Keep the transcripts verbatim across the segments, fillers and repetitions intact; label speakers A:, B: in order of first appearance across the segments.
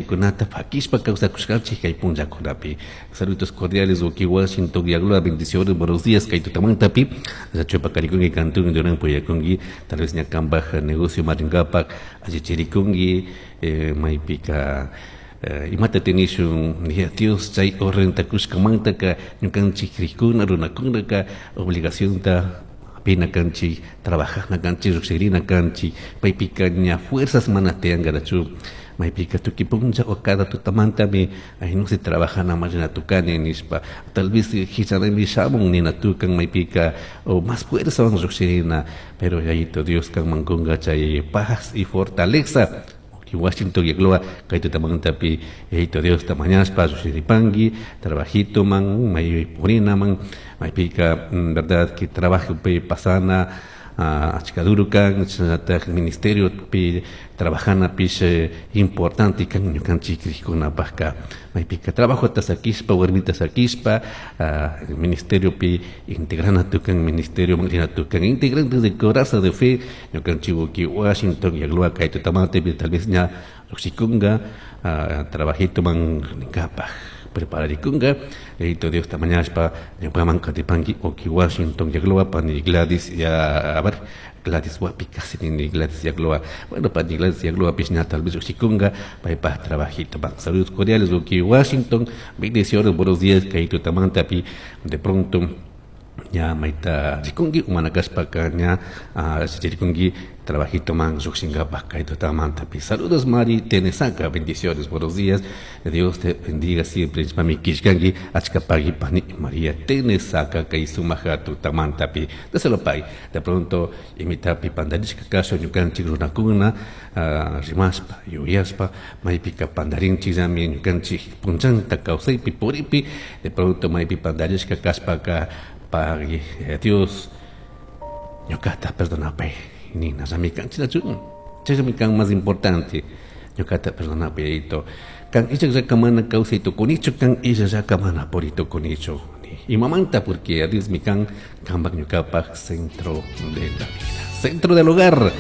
A: Yuyaykunata fakishpa kawsakushkanchik kay punllakunapi. Saludos cordiales, Uki Washington, Yagloa, bendiciones, buenos días, kay tutamantapi, chupakarikunki kantun duran puyakunki, tal vez ña kambaj negocio marinkapak allichirikunki, eh, maypika eh, imata tinishun ya Dios chay orrentakushkamantaka ñukanchik krikuna runakunaka obligacionta pina kanchik trabajana kanchik lluqshirina kanchik paypika ña fuerzas mana tiyankarachu maypika tukuy punlla o cada tutamantami ay no se trabajana mashina tukani nishpa tal vez hichanami shamun nina tukan maypika o más fuerza van lluqshirina pero Yayito Dios kanman kunka chay paz y fortaleza Washington Yagloa kay tutamantapi Yayito Dios ta mañashpa lluqshiripanki trabajito man may purina man maypika verdad que trabajo pi pasana achka duro kan chashnallataq ministerio pi trabajana pish importante kan ñukanchik krikkunapakka maypika trabajota sakishpa warmita sakishpa ministerio pi integrana tukan ministerio rina tukan integrantes de Coraza de Fe ñukanchik uki Washington Yagloa kay tutamantapi tal vez ña lluqshikunka trabajito man rinkapak prepararikunka Yayito Dios ta mañashpa ñukaman katipanki uki Washington Yagloa pani Gladys ya a ver Gladys wapi casi ni Gladys Yagloa bueno pani Gladys Yagloa pish ña tal vez lluqshikunka paypaj trabajito man saludos cordiales uki Washington bendiciones buenos días kay tutamantapi de pronto ña mayta rikunki umana kashpaka ña rikunki trabajito man lluqshinkapak kay tutamantapi saludos Mari Tenesaca bendiciones buenos días Dios te bendiga siempre mami killkanki achka pagui pani María Tenesaca kay sumaja tutamantapi dáselo pay de pronto imitapi pandarishka kasha ñukanchik runakuna rimashpa yuyashpa maypika pandarinchikllami ñukanchik punllanta kawsaypi puripi de pronto maypi pandarishka kashpaka pagui Dios ñukata perdonapay nina rami kanchinachu chaymi kan más importante ñukata perdonapay Yayito kan illakllaka mana kawsay tukunichu kan illallaka mana puri tukunichu imamanta porque a Dios mi kan kanpak ñukapak centro de la vida centro del hogar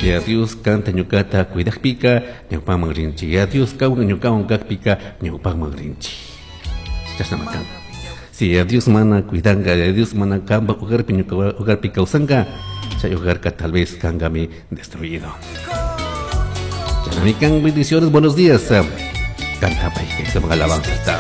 A: y a Dios kanta ñukata cuidakpika ñawpaman rinchik y a Dios kawna ñukawan kakpika ñawpaman rinchik chashnama kan si a Dios mana cuidanka a Dios mana kanpak hogarpi ñuka hogarpi kawsanka chay hogarka tal vez kankami destruido Chanamikan bendiciones buenos días canta pay que se alabanza está